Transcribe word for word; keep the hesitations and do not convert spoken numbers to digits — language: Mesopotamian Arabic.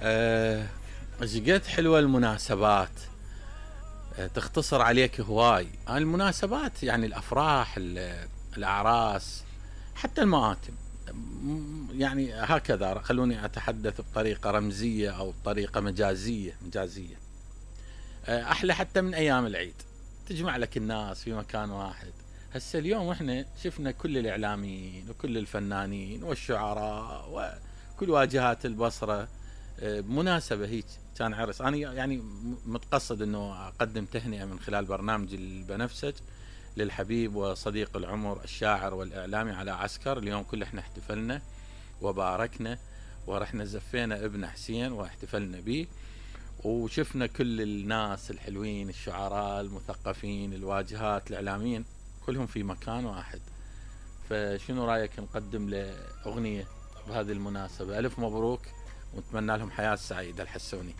آه، ايش قد حلوة المناسبات. آه، تختصر عليك هواي. آه، المناسبات يعني الافراح، ال- الاعراس، حتى المآتم. م- يعني هكذا خلوني اتحدث بطريقة رمزية او بطريقة مجازية مجازية. آه، احلى حتى من ايام العيد، تجمع لك الناس في مكان واحد. هسه اليوم احنا شفنا كل الاعلاميين وكل الفنانين والشعراء وكل واجهات البصرة. آه، بمناسبة هيك كان عرس. انا يعني متقصد انه اقدم تهنئة من خلال برنامج البنفسج للحبيب وصديق العمر الشاعر والاعلامي علاء عسكر. اليوم كل احنا احتفلنا وباركنا ورحنا زفينا ابن حسين واحتفلنا به، وشفنا كل الناس الحلوين، الشعراء المثقفين، الواجهات، الاعلاميين، كلهم في مكان واحد. فشنو رايك نقدم له اغنية بهذه المناسبة؟ الف مبروك ونتمنى لهم حياة سعيدة الحسوني.